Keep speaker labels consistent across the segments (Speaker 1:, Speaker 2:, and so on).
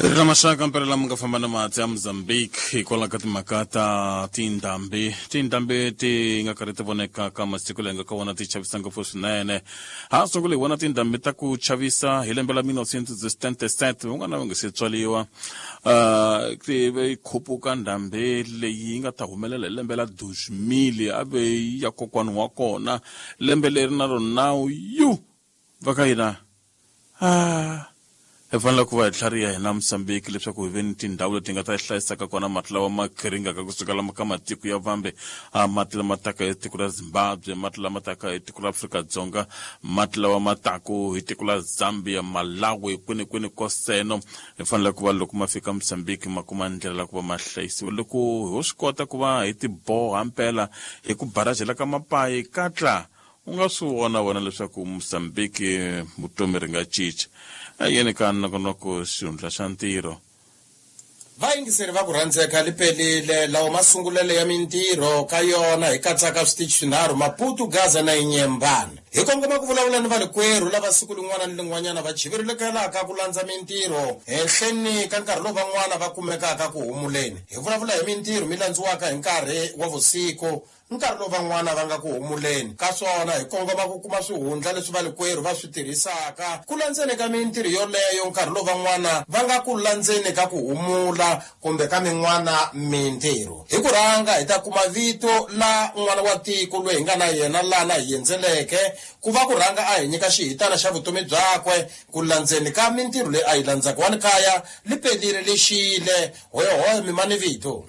Speaker 1: Ri ra maxaka mpela lama nga famba na mati ya Mozambique hikwalaho ka timhaka ta tindhambi. Tindhambi ti nga karhi ti voneka ka masiku leyi nga ka wona ti chavisa ngopfu swinene. Ha sungule hi vona tindhambi ta ku chavisa hi lembe la 1977 van'wana va nga se tswariwa. Ti ve khupuka ndhambi leyi nga ta humelela hi lembe la 2000 a ve ya kokwani wa kona. Lembe leri na rona yu va ka hina ah hi fanele ku va hi tlhariha hina Mozambique leswaku hi ve ni tindhawu leti nga ta hlayisaka kona mati lawa ma khiringaka kusuka lama ka matiko ya vambe, a mati lama taka hi tiko ra Zimbabwe, mati lama taka hi tiko ra Afrika-Dzonga, mati lawa ma taku hi tiko la Zambia, Malawi, kwini kwini koseno. Hi fanele ku va loko ma fika Mozambique ma kuma ndlela la ku va ma hlayisiwa. Loko ho swi kota ku va hi tiboha mpela hi ku barajela ka mapayi katla, U nga swi vona wena leswaku Mozambique vutomi ri nga cinca? A yini ka nongonoko xihundla xa ntirho?
Speaker 2: Vayingiseri va ku rhandzeka li pelile lawa masungulelo ya mintirho ka yona hi katsaka switichi swinharhu, Maputo, Gaza na Inhambane. Hi kongoma ku vulavula ni valikwerhu lava siku lin'wana ni lin'wanyana va chiverilekelaka ku landza mintirho henhleni ka nkarhi lowu van'wana va kumekaka ku humuleni. Hi vulavula hi mintirho mi landziwaka hi nkarhi wa vusiku Nkarhi lowu van'wana va nga ku humuleni ka swona, hi kongoma ku kuma swihundla leswi valikwerhu va swi tirhisaka ku landzeni ka mintirho yoleyo, nkarhi lowu van'wana va nga ku landzeni ka ku humula kumbe ka min'wana mintirho. Hi ku rhanga hi ta kuma vito la n'wana wa tiko loyi hi nga na yena lana hi endzeleke ku va ku rhanga a hi nyika xihitana xa vutomi byakwe ku landzeni ka mintirho leyi a yi landzaka. Wa ni kaya li pelile li xile, hoyohoyo mi ma ni vito.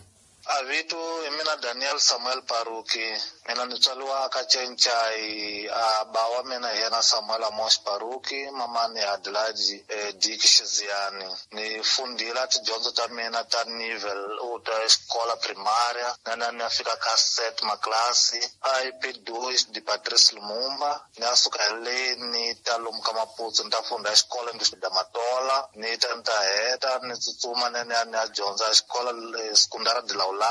Speaker 3: A vito hi mina Daniel Samuel Paruki. Mina ni tswaliwa ka Cencai. A ba wa mina hi yena Samuel Amos Paruki, mamani Adelaide eh, Dick Xiziyani. Ni fundhile tidyondzo ta mina ta nivel u ta xikola primária, na na ni ya fika ka set maklasi a IP 2 de Patrice Lumumba. Ni ya suka hi le ni ta lomu ka Maputsu ni ta funda xikolo ni da Matola, ni ta ni ta heta ni tsutsuma ni ya ni ya ni ya dyondza xikolo Secundária de Laulane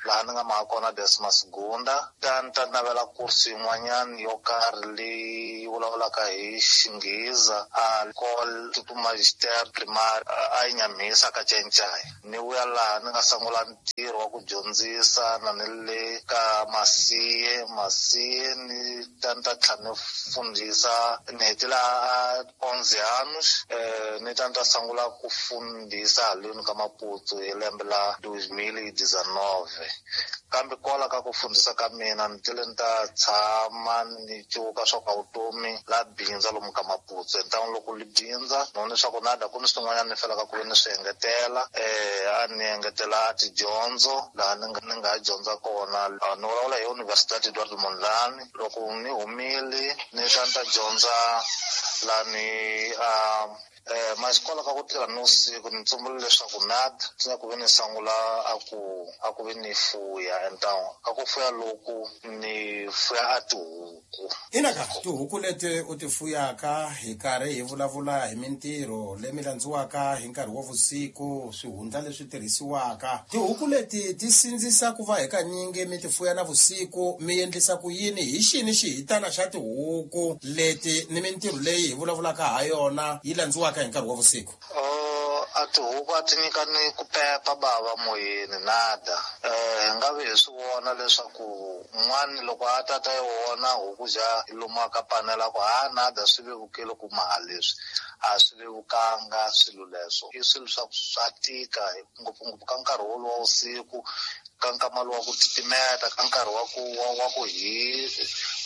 Speaker 3: laha ni nga maha kona décima segunda. Ta ni ta navela kursu yin'wanyana yo karhi leyi vulavulaka hi Xinghiza a École Instituto Magistério Primário a Inhamhisa ka Cencai. Ni vuya laha ni nga sungula ntirho wa ku dyondzisa na ni le ka Masiye, Masiye ni ta ni ta tlhela ni fundhisa ni hetile a 11 anos ni ta ni ta sungula ku fundhisa haleni ka Maputsu hi lembe la 2019. Kambe kwala ka ku fundhisa ka mina ni tile ni ta tshama ni cuka swa ka vutomi la bindza lomu ka Maputsu. Hi ntangu loko li bindza ni vone swa ku nada ku ni swin'wanyana ni felaka ku ve ni swi engetela. A ni engetela a tidyondzo laha ni nga ni nga dyondza kona. Ni vulavula hi Universidade Eduardo Mondlane. Loko ni humile ni ta ni ta dyondza lani a Maxikola ka ku tirha nivusiku ni tsumbule leswaku nad swi ku ve ni sangula a ku a ku ve ni fuya and ka ku fuya loku ni fuya a tihuku.
Speaker 2: Ina ka tihuku leti u ti fuyaka hi karhi hi vulavula hi mintirho leyi mi landziwaka hi nkarhi wa vusiku, swihundla leswi tirhisiwaka. Tihuku leti ti sindzisa ku va hikanyingi mi ti fuya na vusiku, mi endlisa ku yini? Hi xini xihitana xa tihuku leti ni mintirho leyi hi vulavulaka ha yona yi landziwaka hi nkarhi wa vusiku?
Speaker 3: Oh, a tihuku a ti nyikani ku pepa bava moyeni nada. Hi nga vi hi swi vona leswaku un'wana loko a ta ta yi vona huku ja yi lumiwa ka panela ku ha nada swi vevukile ku maha leswi. A swi vevukanga swilo leswo. I swilo swa ku swa tika ngopfungopfu ka nkarhi woluwa wa vusiku, ka nkama lowu wa ku titimeta, ka nkarhi wa ku wa wa ku hi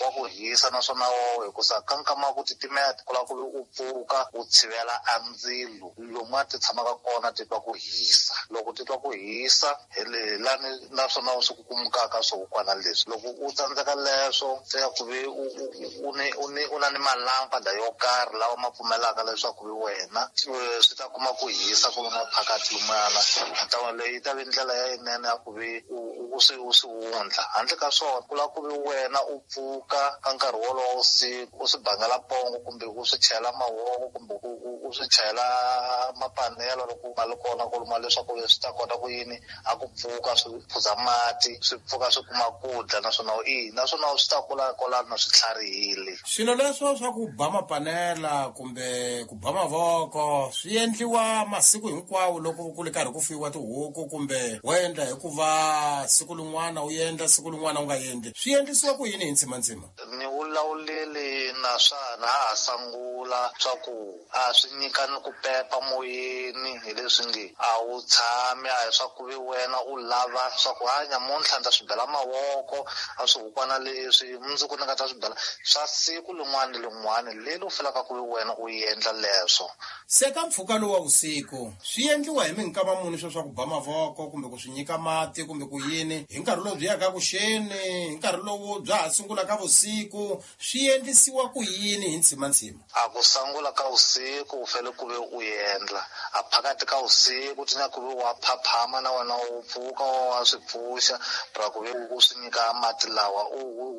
Speaker 3: wa ku hisa naswona wo hikusa ka nkama wa ku titimeta ku lava ku vi u pfuka u tshivela a ndzilo lomu a ti tshamaka kona ti twa ku hisa. Loko ti twa ku hisa hi le hi lani naswona swi kukumukaka swihukwana leswi. Loko u tsandzeka leswo se ya ku vi u u u ni u ni u na ni malampada yo karhi lawa ma pfumelaka leswaku vi wena swi ta kuma ku hisa ku nga phakathi lumana. Ntlangu leyi yi ta vi ndlela ya yinene ya ku vi u swi wundla. Handle ka swona ku lava ku ve wena u pfuka ka nkarhi wolowo siku u swi bangela pongo kumbe u swi chela mavoko kumbe u swi chela mapanelo loko ma li kona ku luma leswaku swi ta kota ku yini a ku pfuka swi phuza mati swi pfuka swi kuma ku dya naswona naswona swi ta kula kwalano swi tlharihile.
Speaker 2: Swilo leswo swa ku ba mapanela kumbe ku ba mavoko swi endliwa masiku hinkwawo loko ku ri karhi ku fuyiwa tihuku kumbe wo endla hikuva siku lin'wana u endla siku lin'wana u nga endli, swi endlisiwa ku yini hi ntsimantsima?
Speaker 3: Ni vulavuleli na swa na ha sangula swa ku a swi nyika ni ku pepa moyeni hi leswi nge a wu tshami a hi swa ku ve wena u lava swa ku hanya muntlha ni ta swi bela mavoko a swihukwana leswi mundzuku ni nga ta swi bela swa siku lin'wana ni lin'wana leri u felaka ku ve wena u endla leswo.
Speaker 2: Se ka mpfhuka lowu wa vusiku swi endliwa hi minkama muni swo swa ku ba mavoko kumbe ku swi nyika mati kumbe ku yini hi nkarhi lowu byi yaka kuxeni, hi nkarhi lowu bya ha sungulaka vusiku, swi endlisiwa ku yini hi ntsimantsima?
Speaker 3: A ku sangula ka vusiku u fanele ku ve u endla a phakati ka vusiku ti na ku ve wa phaphama na wena u pfuka wa swi pfuxa ra ku ve u swi nyika mati lawa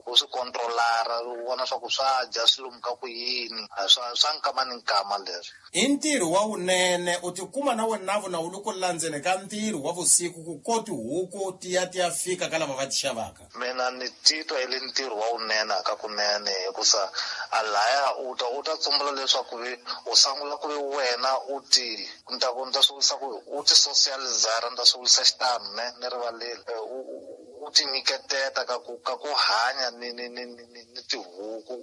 Speaker 3: u swi kontrolara u vona swa ku swa dya swi lomuka ku yini swa nkama ni nkama leswi.
Speaker 2: I ntirho wa wunene u tikuma na wena na wu loko landzeni ka ntirho wa vusiku ku ko tihuku ti ya fika ka lava va ti xavaka.
Speaker 3: Mina ni titwa i le ntirho wa wunene ka kunene hikusa a laya u ta tsumbula leswaku u sangula ku ve wena u ti ni ta swi vurisa ku u ti socializara, ni ta swi vurisa xitano ne ni rivaleli u ti nyiketeta ka ku hanya ni tihuku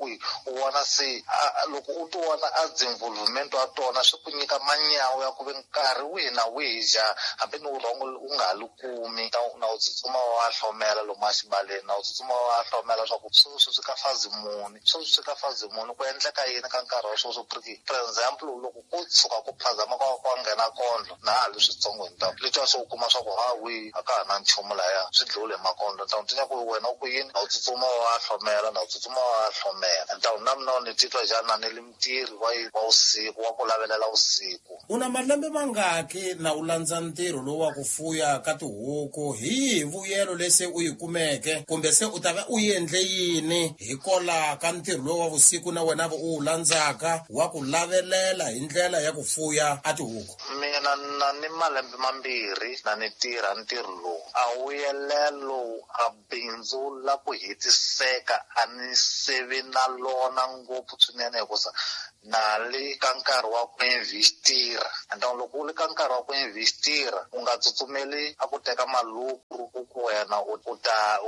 Speaker 3: u vona se loko u ti vona a involvement wa tona swi ku nyika manyawu ya ku ve nkarhi wihi na wihi ja hambi ni vurhongo u nga ha li kumi na u tsutsuma wa hlomela lomu exibaleni na u tsutsuma wa hlomela swa ku sweswi swi ka fazi muni, sweswi swi ka fazi muni, ku endleka yini ka nkarhi wa sweswo. For example loko ku tshuka ku phazama kwa nghena kondlo na ha li switsongo hi ntamu leswi swi u kuma swa ku hawi a ka ha na nchumu laya swi dliwile hi makondlo ntamu ti ku wena u ku yini na u tsutsuma wa hlomela na u tsutsuma wa hlomela ntamu na mina ni titwa njhani ni li ntirho wa vusiku wa ku lavelela vusiku.
Speaker 2: U na malembe mangaki na u landza ntirho lowu wa ku fuya ka tihuku, hi yihi vuyelo lese u yi kumeke kumbe se u ta va u endle yini hikola ka ntirho lowu wa vusiku na wena u wu landzaka wa ku lavelela hi ndlela ya ku fuya a tihuku?
Speaker 3: Mina na ni malembe mambirhi na ni tirha ntirho lowu a vuyelelo a bindzu la ku hetiseka a ni sevi na lona ngopfu swinene hikusa na le ka nkarhi wa ku investira. And loko u le ka nkarhi wa ku investira u nga tsutsumeli a ku teka malukuru ku wena u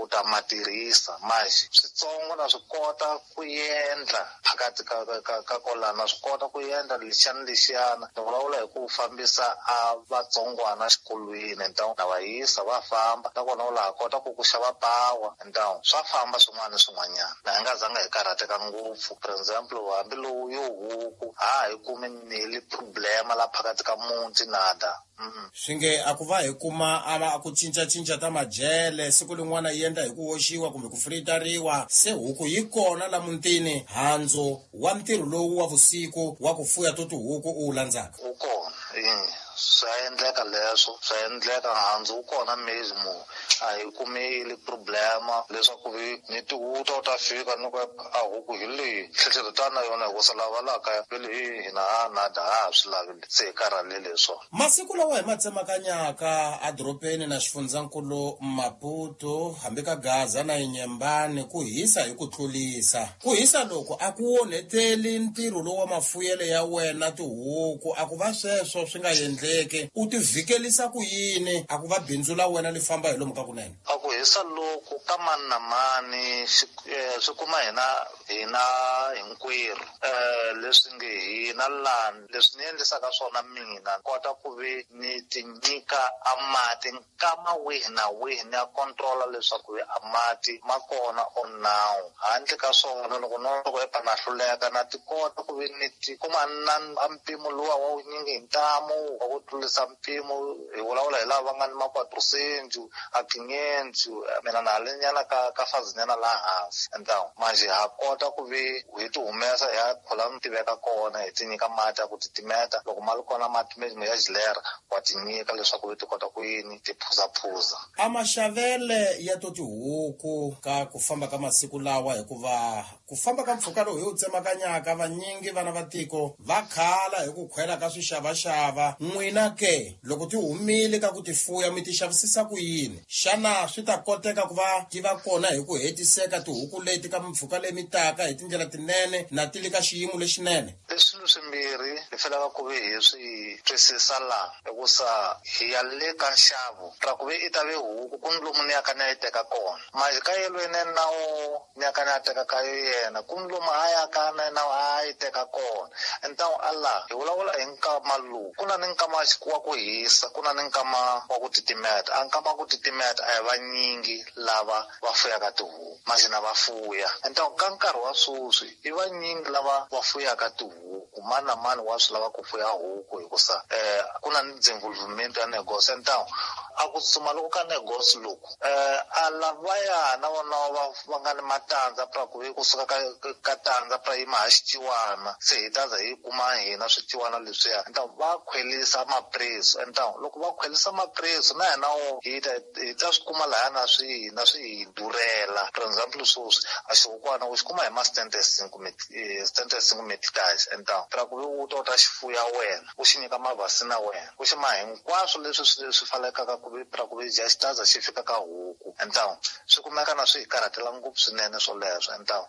Speaker 3: ta ma tirhisa manje switsongo na swi kota ku endla phakathi ka kolana na swi kota ku endla lexiyana lexiyana ni vulavula hi ku fambisa a vatsongwana xikolweni ntawu na va yisa va famba nakona u laha kota ku xava pawa ntawu swa famba swin'wana na swin'wanyana na hi nga zanga hi karhateka ngopfu. For example hambi lowu yo huku ha hi kumi ni problema la phakathi ka muti nada.
Speaker 2: Swi nge a ku va hi kuma a ku cincacinca ta majele siku lin'wana yi endla hi ku hoxiwa kumbe ku fritariwa se huku yi kona la mutini handzu wa ntirho lowu wa vusiku wa ku fuya to tihuku u wu landzaka
Speaker 3: wu kona swa endleka leswo swa endleka handzu wu kona mezimo a hi kumeli problema leswaku ni tihuta u ta fika ni ku a huku hi leyi tlhetlhetana na yona hikusa lava laha kaya vele hina a nada ha swi lavi se hi karhalele hi swona.
Speaker 2: Masiku lawa hi ma tsemakanyaka edorobeni na xifundzankulu Maputo hambi ka Gaza na Inyembani ku hisa hi ku tlulisa. Ku hisa loko a ku onheteli ntirho lowu wa mafuyelo ya wena tihuku a ku va sweswo swi nga endleki u ti vhikelisa ku yini a ku va bindzu la wena li famba hi lomu ka kunene?
Speaker 3: A ku hisa loku ka mani na mani swi kuma hina hinkwerhu leswi nge hina lani leswi ni endlisaka swona mina kota ku ve ni ti nyika a mati nkama wihi na wihi ni ya controla leswaku a mati ma kona or now. Handle ka swona loko no loko epa na hluleka na ti kota ku ve ni ti kuma na mpimo luwa wa wunyingi hi ntamu wa ku tlurisa mpimo hi vulavula hi lava va nga ni ma-quatrocentu a quinhentos Mina na ha le nyana ka fazi nyana laha hansi. Entawu manjhe ha kota ku ve hi ti humesa hi ya khola ni tiveka kona, hi ti nyika mati ya ku titimeta. Loko ma ri kona mati ya xilera wa ti nyika leswaku ti kota ku yini ti phuzaphuza.
Speaker 2: A maxavele ya to tihuku ka ku famba ka masiku lawa, hikuva ku famba ka mpfhuka lowu hi wu tsemakanyaka, vanyingi vana va tiko va khala hi ku khwela ka swixavaxava. N'wina ke loko ti humile ka ku ti fuya, mi ti xavisisa ku yini? Xana swi ta koteka ku va ti va kona hi ku hetiseka tihuku leti ka mimpfhuka leyi mi taka hi tindlela tinene na ti le ka xiyimo lexinene?
Speaker 3: I swilo swimbirhi hi fanelaka ku ve hi swi twisisa laha, hikusa hi ya le ka nxavo ra ku ve i ta ve huku ku ni lomu ni yaka ni ya yi teka kona. Manjhe ka yelweni na wo ni yaka ni ya teka ka yena, ku ni lomu a yaka na yena a yi teka kona. Entawu a laha hi vulavula hi nkama lowu, ku na ni nkama wa ku hisa, ku na ni nkama wa ku titimeta. A nkama wa ku titimeta a hi vanyingi lava va fuyaka tihuku, manjhe na va fuya. Entawu ka nkarhi wa sweswi i vanyingi lava va fuyaka tihuku, mani na mani wa swi lava ku fuya huku, hikusa ku na ni development ya negosi. Entawu a ku tsutsuma loko ka negosi loku, a lavaya na vona va nga ni matandza pra ku ve kusuka ka tandza pra yima ha xiciwana, se hi ta za hi kuma hina swiciwana leswiya. Entawu va khwelisa mapreso. Entawu loko va khwelisa mapreso na hina wo hi ta swi kuma lahaya na swi na swi hi durhela. For example, sweswi a xihukwana u xi kuma hi ma setente cinco meticais. Entawu pra ku ve u ta u ta xi fuya wena, u xi nyika mavhasina wena, u xi ma hinkwaswo leswi swi fanelekaka ku ve pra ku ve dya xitaza xi fika ka huku. Entawu swi kumeka na swi hi karhatela ngopfu swinene swoleswo. Entawu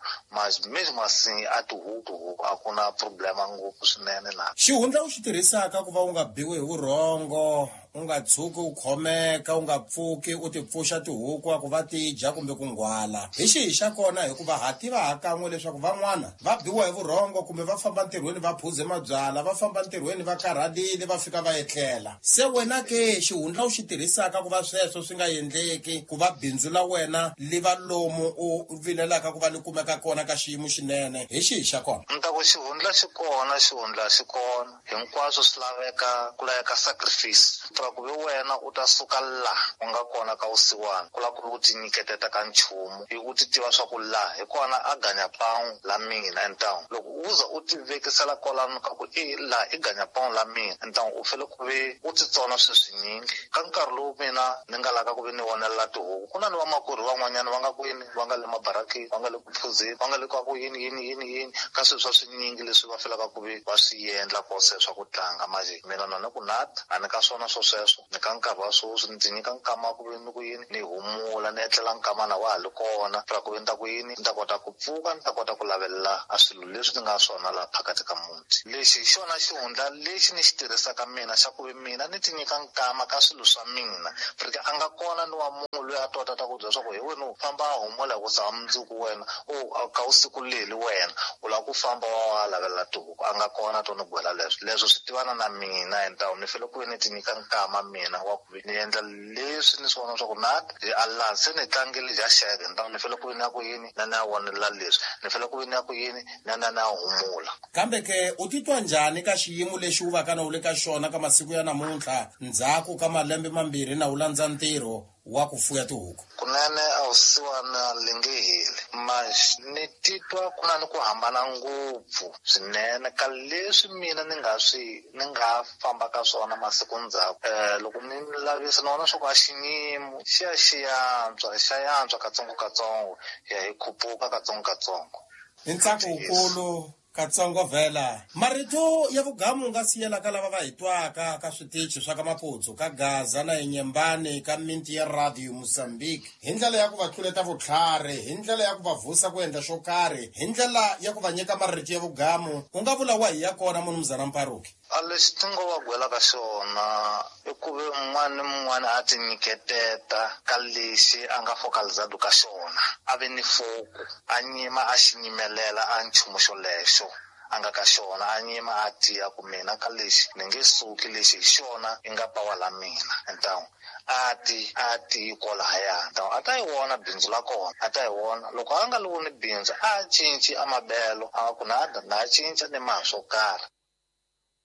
Speaker 3: mesmo assim a tihuku a ku na problema ngopfu swinene na.
Speaker 2: Xihundla u xi tirhisaka ku va u nga biwi hi vurhongo, u nga tshuki u khomeka, u nga pfuki u ti pfuxa tihuku a ku va ti dya kumbe ku nghwala, hi xihi xa kona? Hikuva ha tiva ha kan'we leswaku van'wana va biwa hi vurhongo, kumbe va famba ntirhweni va phuze mabyala, va famba ntirhweni va karhalile, va fika va etlela. Se wena ke xihundla u xi tirhisaka ku va sweswo swi nga endleki, ku va bindzu la wena li va lomu u vilelaka ku va li kumeka kona ka xiyimo xinene, hi xihi xa kona?
Speaker 3: Ni ta ku xihundla xi kona, xihundla xi kona. Hinkwaswo swi laveka, ku laveka sacrifice pra ku ve wena u ta suka laha u nga kona ka vusiwana, ku lava ku ve u ti nyiketeta ka nchumu, hi u ti tiva swa ku laha hi kona a ganya panwu la mina. Entawu loko u za u ti vekisela kwalano ka ku i laha i ganya panwu la mina, entawu u fanele ku ve u titsona swilo swinyingi. Ka nkarhi lowu mina ni nga laka ku ve ni vonelela tihuku, ku na ni vamakwerhu van'wanyana va nga kwini, va nga le mabarakeni, va nga le ku phuzeni, va nga le ka ku yini yini yini yini, ka swilo swa swinyingi leswi va fanelaka ku ve va swi endla kose swa ku tlanga. Manjhe mina na ni ku nata a ni ka swona swo sweswo. Ni ka nkarhi wa sweswi ni ti nyika nkama ku ve ni ku yini ni humula, ni etlela nkama na wa ha li kona, pra ku ve ni ta ku yini ni ta kota ku pfuka, ni ta kota ku lavelela a swilo leswi ni nga swona laha phakathi ka muti. Lexi hi xona xihundla lexi ni xi tirhisaka mina xa ku ve mina ni ti nyika nkama ka swilo swa mina, porque a nga kona ni wa munhu loyi a tota ta ku byela swa ku hi wena u famba a humula, hikusa ha mundzuku wena u ka usiku leli wena u lava ku famba wa lavelela tihuku. A nga kona to ni gwela leswo. Leswo swi tivana na mina. Entawu ni fanele ku ve ni ti nyika nkama mina wa ku ve ni endla leswi ni swi vona swa ku na a laha se ni tlangile dya xeke. Entawu ni fanele ku ve ni ya ku yini na ni ya vonelela leswi, ni fanele ku ve ni ya ku yini na na ni ya humula.
Speaker 2: Kambe ke u titwa njhani ka xiyimo lexi u va ka na u le ka xona ka masiku ya namuntlha, ndzhaku ka malembe 2 na u landza ntirho wa ku fuya tihuku?
Speaker 3: Kunene a vusiwana li nge heli, manjhe ni titwa ku na ni ku hambana ngopfu swinene ka leswi mina ni nga swi ni nga famba ka swona masiku ndzhaku. Loko ni lavisa ni vona swa ku a xinyimo xi ya xi yantswa, xa yantswa katsongo katsongo, ya hi khupuka katsongo katsongo.
Speaker 2: Hi ntsako wukulu katsongo vhela, marito ya vugamu nga siyela ka lava va hi twaka ka switichi swa ka Maputsu, ka Gaza na Inyembani, ka minti ya Radio Mozambique, hi ndlela ya ku va tluleta vutlhari, hi ndlela ya ku va vusa ku endla xo karhi, hi ndlela ya ku va nyika marito ya vugamu, u nga vula wa hi ya kona, munumuzana Mparuki?
Speaker 3: A lexi ti ngo va gwelaka xona i ku ve un'wana ni mun'wana a ti nyiketeta ka lexi a nga focalizado ka xona, a ve ni foku, a nyima a xi nyimelela a nchumu xolexo a nga ka xona, a nyima a tiya ku mina ka lexi ni nge suki, lexi hi xona i nga pawa la mina. Entawu a ti a ti kwalahaya, ntawu a ta yi vona bindzu la kona, a ta yi vona. Loko a nga li voni bindzu, a cinci a mabelo, a ku nada na cinca ni maha swo karhi.